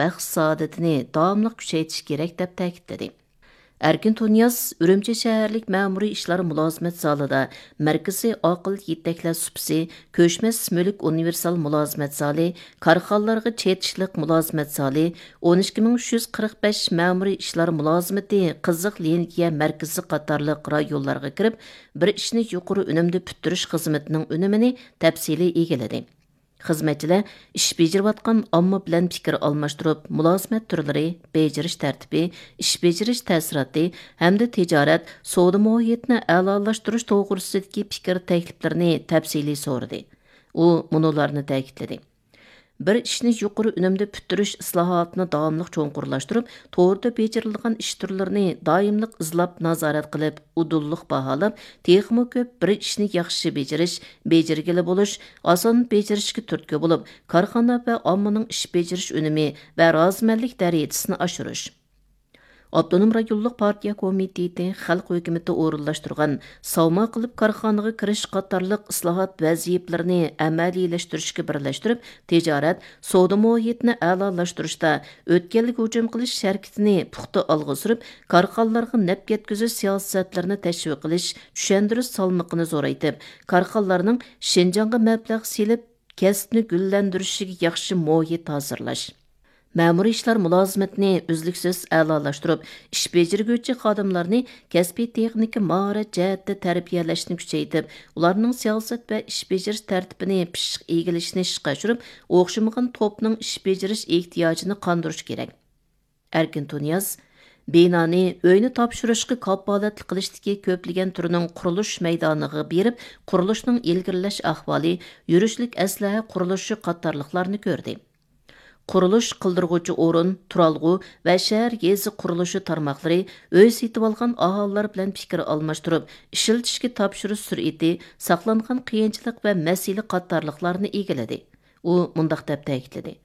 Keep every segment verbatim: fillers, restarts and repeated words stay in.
بەخت-سائادىتىنى داۋاملىق كۈچەيتىش كېرەك، دەپ تەكىتلىدى. ئەركىن تۇنىياز ئۈرۈمچى شەھەرلىك مەمۇرىي ئىشلار مۇلازىمەت زالىدا مەركىزىي ئاقىل يېتەكلەش سۇپىسى، كۆچمەس مۈلۈك ئۇنىۋېرسال مۇلازىمەت زالى، كارخانىلارغا چېتىشلىق مۇلازىمەت زالى، ئون ئىككى مىڭ ئۈچ يۈز قىرىق بەش مەمۇرىي ئىشلار مۇلازىمىتى قىزىق لىنىيە مەركىزى قاتارلىق رايونلارغا كىرىپ، بىر ئىشنى يۇقىرى ئۈنۈمدە پۈتتۈرۈش خىزمىتىنىڭ ئۈنۈمىنى تەپسىلىي ئىگىلىدى. خىزمەتچىلەر ئىش بېجىرىۋاتقان ئامما بىلەن پىكىر ئالماشتۇرۇپ، مۇلازىمەت تۈرلىرى، بېجىرىش تەرتىپى، ئىش بېجىرىش تەسىراتى ھەمدە تىجارەت، سودا مۇھىتىنى ئەلالاشتۇرۇش توغرىسىدىكى پىكىر تەكلىپلىرىنى تەپسىلىي سورىدى. ئۇ مۇنۇلارنى تەكىتلىدى: بىر ئىشنى يۇقىرى ئۈنۈمدە پۈتتۈرۈش ئىسلاھاتىنى داۋاملىق چوڭقۇرلاشتۇرۇپ، توردا بېجىرىلىدىغان ئىش تۈرلىرىنى دائىملىق ئىزلاپ نازارەت قىلىپ، ئۇدۇللۇق باھالاپ، تېخىمۇ كۆپ بىر ئىشنى ياخشى بېجىرىش، بېجىرگىلى بولۇش، ئاسان بېجىرىشكە تۈرتكە بولۇپ، كارخانا ۋە ئاممىنىڭ ئىش بېجىرىش ئۈنۈمى ۋە رازىمەنلىك دەرىجىسىنى ئاشۇرۇش. ئاپتونوم رايونلۇق پارتىيە كومىتېتى خەلق ھۆكۈمىتى ئورۇنلاشتۇرغان ساۋما قىلىپ كارخانىغا كىرىش قاتارلىق ئىسلاھات ۋەزىپىلىرىنى ئەمەلىيلەشتۈرۈشكە بىرلەشتۈرۈپ، تىجارەت، سودا مۇھىتىنى ئەلالاشتۇرۇشتا ئۆتكەلگە ھۇجۇم قىلىش ھەرىكىتىنى پۇختا ئالغا سۈرۈپ، كارخانىلارغا نەپ يەتكۈزۈش سىياسەتلىرىنى تەشۋىق قىلىش، چۈشەندۈرۈش سالمىقىنى زورايتىپ، كارخانىلارنىڭ شىنجاڭغا مەبلەغ سېلىپ، كەسىپنى گۈللەندۈرۈشىگە ياخشى مۇھىت ھازىرلاش. مەمۇرىي ئىشلار مۇلازىمىتىنى ئۈزلۈكسىز ئەلالاشتۇرۇپ، ئىش بېجىرگۈچى خادىملارنى كەسپىي تېخنىكا ماھارەت جەھەتتە تەربىيەلەشنى كۈچەيتىپ، ئۇلارنىڭ سىياسەت ۋە ئىش بېجىرىش تەرتىپىنى پىششىق ئىگىلىشىنى ئىشقا ئاشۇرۇپ، ئوخشىمىغان توپنىڭ ئىش بېجىرىش ئېھتىياجىنى قاندۇرۇش كېرەك. ئەركىن تۇنىياز، بىنانى ئۆينى تاپشۇرۇشقا كاپالەتلىك قىلىشتىكى كۆپلىگەن تۈرنىڭ قۇرۇلۇش مەيدانىغا بېرىپ، قۇرۇلۇشنىڭ ئىلگىرىلەش ئەھۋالى، يۈرۈشلۈك ئەسلىھە قۇرۇلۇشى قاتارلىقلارنى كۆردى. قۇرۇلۇش قىلدۇرغۇچى ئورۇن، تۇرالغۇ ۋە شەھەر يېزا قۇرۇلۇشى تارماقلىرى ئۆي سېتىۋالغان ئاھالىلەر بىلەن پىكىر ئالماشتۇرۇپ، ئىشلىتىشكە تاپشۇرۇش سۈرئىتى، ساقلانغان قىيىنچىلىق ۋە مەسىلە قاتارلىقلارنى ئىگىلىدى. ئۇ مۇنداق دەپ تەكىتلىدى: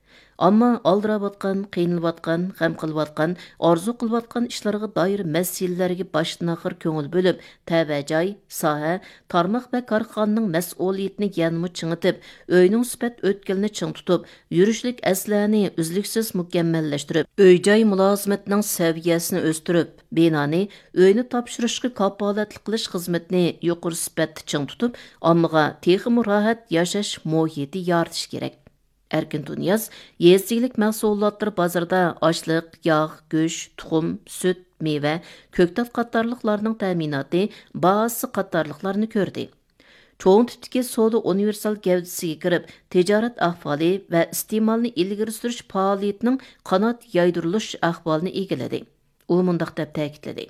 ئامما ئالدىراۋاتقان، قىينىلىۋاتقان، غەم قىلىۋاتقان، ئارزۇ قىلىۋاتقان ئىشلارغا دائىر مەسىلىلەرگە باشتىن-ئاخىر كۆڭۈل بۆلۈپ، تەۋە جاي، ساھە، تارماق ۋە كارخانىنىڭ مەسئۇلىيىتىنى يەنىمۇ چىڭىتىپ، ئۆينىڭ سۈپەت ئۆتكىلىنى چىڭ تۇتۇپ، يۈرۈشلۈك ئەسلىھەنى ئۈزلۈكسىز مۇكەممەللەشتۈرۈپ، ئۆي-جاي مۇلازىمىتىنىڭ سەۋىيەسىنى ئۆستۈرۈپ، بىنانى ئۆينى تاپشۇرۇشقا كاپالەتلىك قىلىش خىزمىتىنى يۇقىرى سۈپەتتە چىڭ تۇتۇپ، ئاممىغا تېخىمۇ راھەت ياشاش مۇھىتى يارىتىش كېرەك. ئەركىن تۇنىياز يېزا ئىگىلىك مەھسۇلاتلىرى بازىرىدا ئاشلىق، ياغ، گۆش، تۇخۇم، سۈت، مېۋە، كۆكتات قاتارلىقلارنىڭ تەمىناتى، باھاسى قاتارلىقلارنى كۆردى. چوڭ تىپتىكى سودا ئۇنىۋېرسال گەۋدىسىگە كىرىپ، تىجارەت ئەھۋالى ۋە ئىستېمالنى ئىلگىرى سۈرۈش پائالىيىتىنىڭ قانات يايدۇرۇلۇش ئەھۋالىنى ئىگىلىدى. ئۇ مۇنداق دەپ تەكىتلىدى: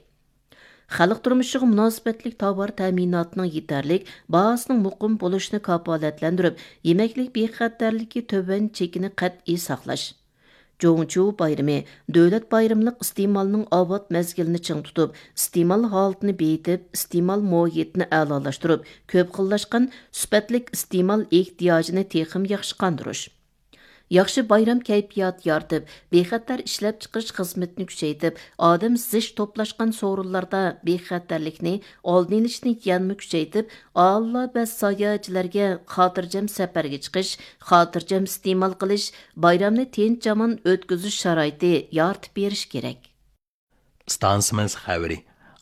خەلق تۇرمۇشىغا مۇناسىۋەتلىك تاۋار تەمىناتىنىڭ يېتەرلىك، باھاسىنىڭ مۇقىم بولۇشىنى كاپالەتلەندۈرۈپ، يېمەكلىك بىخەتەرلىكى تۆۋەن چېكىنى قەتئىي ساقلاش. جۇڭچۇ بايرىمى، دۆلەت بايرىملىق ئىستېمالنىڭ ئاۋات مەزگىلىنى چىڭ تۇتۇپ، ئىستېمال ھالىتىنى بېيىتىپ، ئىستېمال مۇھىتىنى ئەلالاشتۇرۇپ، كۆپ خىللاشقان سۈپەتلىك ئىستېمال ئېھتىياجىنى تېخىمۇ ياخشى قاندۇرۇش. ياخشى بايرام كەيپىياتى يارىتىپ، بىخەتەر ئىشلەپچىقىرىش خىزمىتىنى كۈچەيتىپ، ئادەم زىچ توپلاشقان سورۇنلاردا بىخەتەرلىكنى ئالدىنى ئېلىشنى يەنىمۇ كۈچەيتىپ، ئاھالىلەر ۋە ساياھەتچىلەرگە خاتىرجەم سەپەرگە چىقىش، خاتىرجەم ئىستېمال قىلىش، بايرامنى تىنچ-ئامان ئۆتكۈزۈش شارائىتى يارىتىپ بېرىش كېرەك. ئىستانسىمىز خەۋىرى.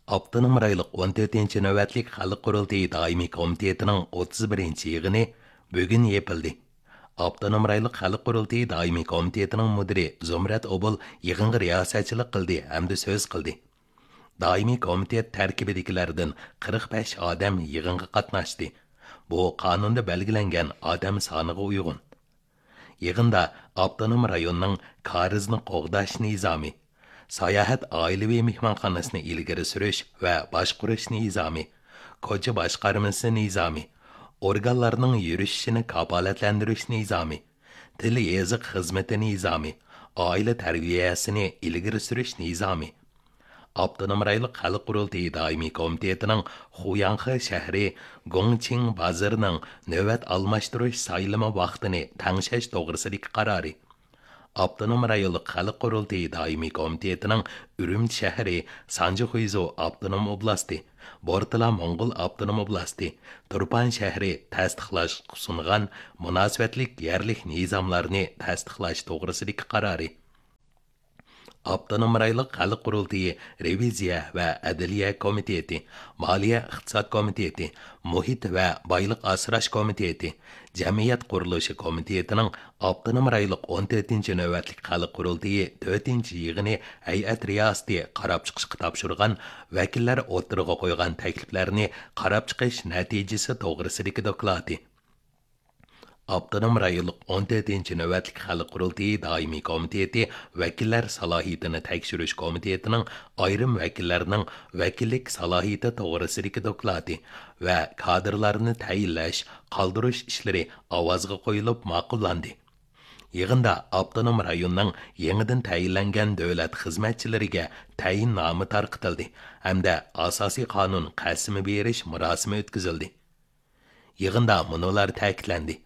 ئاپتونوم رايونلۇق ئون تۆتىنچى نۆۋەتلىك خەلق قۇرۇلتىيى دائىمىي كومىتېتىنىڭ ئوتتۇز بىرىنچى يىغىنى بۈگۈن يېپىلدى. ئاپتونوم رايونلۇق خەلق قۇرۇلتىيى دائىمىي كومىتېتىنىڭ مۇدىرى زۇمرەت ئوبۇل يىغىنغا رىياسەتچىلىك قىلدى ھەمدە سۆز قىلدى. دائىمىي كومىتېت تەركىبىدىكىلەردىن قىرىق بەش ئادەم يىغىنغا قاتناشتى. بۇ قانۇندا بەلگىلەنگەن ئادەم سانىغا ئۇيغۇن. يىغىندا ئاپتونوم رايوننىڭ كارىزنى قوغداش نىزامى، ساياھەت ئائىلىۋى مېھمانخانىسىنى ئىلگىرى سۈرۈش ۋە باشقۇرۇش نىزامى، كوچا باشقارمىسى نىزامى، ئورگانلارنىڭ يۈرۈشۈشىنى كاپالەتلەندۈرۈش نىزامى، تىل يېزىق خىزمىتى نىزامى، ئائىلە تەربىيەسىنى ئىلگىرى سۈرۈش نىزامى، ئاپتونوم رايونلۇق خەلق قۇرۇلتىيى دائىمىي كومىتېتىنىڭ خۇياڭخې شەھىرى گۇڭچىڭ بازىرىنىڭ نۆۋەت ئالماشتۇرۇش سايلىمى ۋاقتىنى تەڭشەش توغرىسىدىكى قارارى، ئاپتونوم رايونلۇق خەلق قۇرۇلتىيى دائىمىي كومىتېتىنىڭ ئۈرۈمچى شەھىرى سانجىخۇيزۇ ئاپتونوم ئوبلاستى، بورتالا موڭغۇل ئاپتونوم ئوبلاستى، تۇرپان شەھىرى تەستىقلاشقا سۇنغان مۇناسىۋەتلىك يەرلىك نىزاملارنى تەستىقلاش توغرىسىدىكى قارارى، ئاپتونوم رايونلۇق خەلق قۇرۇلتىيى رېۋىزىيە ۋە ئەدلىيە كومىتېتى، مالىيە ئىقتىساد كومىتېتى، مۇھىت ۋە بايلىق ئاسراش كومىتېتى، جەمئىيەت قۇرۇلۇشى كومىتېتىنىڭ ئاپتونوم رايونلۇق ئون تۆتىنچى نۆۋەتلىك خەلق قۇرۇلتىيى تۆتىنچى يىغىنى ھەيئەت رىياسىتى قاراپ چىقىشقا تاپشۇرغان ۋەكىللەر ئوتتۇرىغا قويغان تەكلىپلەرنى قاراپ چىقىش نەتىجىسى توغرىسىدىكى دوكلاتى. ئاپتونوم رايونلۇق ئون تۆتىنچى نۆۋەتلىك خەلق قۇرۇلتىيى دائىمىي كومىتېتى ۋەكىللەر سالاھىيىتىنى تەكشۈرۈش كومىتېتىنىڭ ئايرىم ۋەكىللەرنىڭ ۋەكىللىك سالاھىيىتى توغرىسىدىكى دوكلاتى ۋە كادىرلارنى تەيىنلەش، قالدۇرۇش ئىشلىرى ئاۋازغا قويۇلۇپ ماقۇللاندى. يىغىندا ئاپتونوم رايوننىڭ يېڭىدىن تەيىنلەنگەن دۆلەت خىزمەتچىلىرىگە تەيىننامە تارقىتىلدى ھەمدە ئاساسىي قانۇن قەسىمى بېرىش مۇراسىمى ئۆتكۈزۈلدى. يىغىندا مۇنۇلار تەكىتلەندى: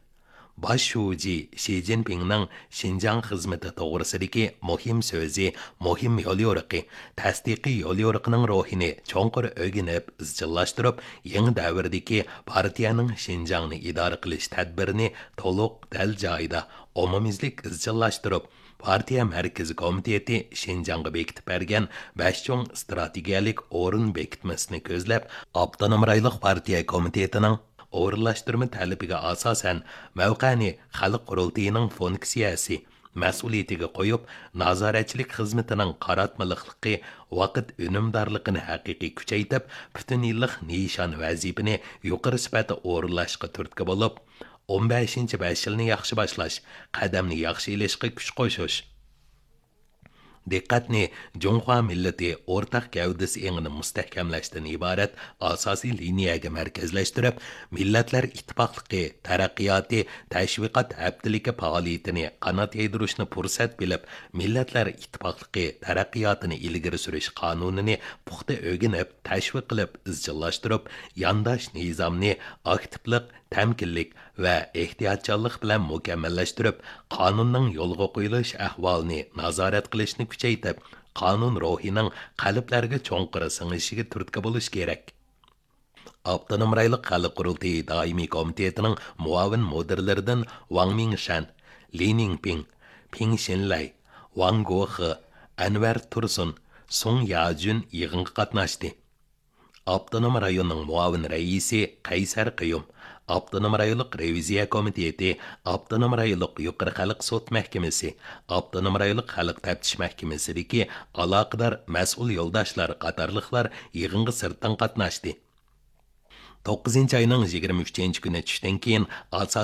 باش شۇجى شى جىنپىڭنىڭ شىنجاڭ خىزمىتى توغرىسىدىكى مۇھىم سۆزى، مۇھىم يوليورۇقى، تەستىقىي يوليورۇقىنىڭ روھىنى چوڭقۇر ئۆگىنىپ ئىزچىللاشتۇرۇپ، يېڭى دەۋردىكى پارتىيەنىڭ شىنجاڭنى ئىدارە قىلىش تەدبىرىنى تولۇق، دەل جايىدا، ئومۇميۈزلۈك ئىزچىللاشتۇرۇپ، پارتىيە مەركىزىي كومىتېتى شىنجاڭغا بېكىتىپ بەرگەن بەش چوڭ ئىستراتېگىيەلىك ئورۇن بېكىتمىسىنى كۆزلەپ، ئاپتونوم رايونلۇق پارتىيە كومىتېتىنىڭ ئورۇنلاشتۇرما تەلىپىگە ئاساسەن، مەۋقەنى خەلق قۇرۇلتىيىنىڭ فۇنكسىيەسى، مەسئۇلىيىتىگە قويۇپ، نازارەتچىلىك خىزمىتىنىڭ قاراتمىلىقلىقى، ۋاقىت ئۈنۈمدارلىقىنى ھەقىقىي كۈچەيتىپ، پۈتۈن يىللىق نىشان ۋەزىپىنى يۇقىرى سۈپەتتە ئورۇنلاشقا تۈرتكە بولۇپ، ئون بەشىنچى بەش يىلنى ياخشى باشلاش، قەدەمنى ياخشى ئېلىشقا كۈچ قوشۇش. دىققەتنى جۇڭخۇا مىللىتى ئورتاق گەۋدىسى ئېڭىنى مۇستەھكەملەشتىن ئىبارەت ئاساسىي لىنىيەگە مەركەزلەشتۈرۈپ، مىللەتلەر ئىتتىپاقلىقى تەرەققىياتى تەشۋىقات ھەپتىلىكى پائالىيىتىنى قانات يايدۇرۇشنى پۇرسەت بىلىپ، مىللەتلەر ئىتتىپاقلىقى تەرەققىياتىنى ئىلگىرى سۈرۈش قانۇنىنى پۇختا ئۆگىنىپ، تەشۋىق قىلىپ ئىزچىللاشتۇرۇپ، يانداش نىزامنى ئاكتىپلىق، تەمكىنلىك ۋە ئېھتىياتچانلىق بىلەن مۇكەممەللەشتۈرۈپ، قانۇننىڭ يولغا قويۇلۇش ئەھۋالىنى نازارەت قىلىشنى كۈچەيتىپ، قانۇن روھىنىڭ قەلبلەرگە چوڭقۇر سىڭىشىگە تۈرتكە بولۇش كېرەك. ئاپتونوم رايونلۇق خەلق قۇرۇلتىيى دائىمىي كومىتېتىنىڭ مۇئاۋىن مۇدىرلىرىدىن ۋاڭ مىڭشەن، لى نىڭپىڭ، پىڭ شىنلەي، ۋاڭ گوخې، ئەنۋەر تۇرسۇن، سۇڭ ياجۈن يىغىنغا قاتناشتى. ئاپتونوم رايوننىڭ مۇئاۋىن رەئىسى قەيسەر قېيۇم، ئاپتونوم رايونلۇق رېۋىزىيە كومىتېتى، ئاپتونوم رايونلۇق يۇقىرى خەلق سوت مەھكىمىسى، ئاپتونوم رايونلۇق خەلق تەپتىش مەھكىمىسىدىكى ئالاقىدار مەسئۇل يولداشلار قاتارلىقلار يىغىنغا سىرتتىن قاتناشتى. توققۇزىنچى ئاينىڭ يىگىرمە ئۈچىنچى كۈنى چۈشتىن كېيىن ئاساسىي